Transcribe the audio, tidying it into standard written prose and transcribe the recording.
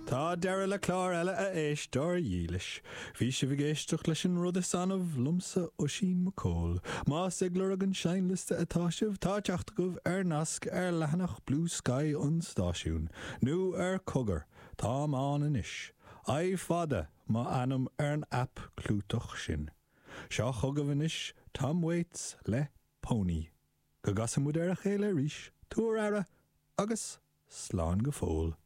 Tá deireadh le clár eile a éisteoir dhílis. Bhí sibh ag éisteacht leis an rud is annamh liomsa Oisín Mac Cóil. Más ag lorg an seinnliosta atá sibh, tá teacht agaibh ar nasc ar leathanach Bluesky an stáisiúin, nó ar Cogar, táim ann anois. I fada mo ainm ar an aip clúiteach sin. Seo chugaibh anois Tom Waits le Pony. Go gcasa muid ar a chéile arís, tabhair aire agus slán go fóill.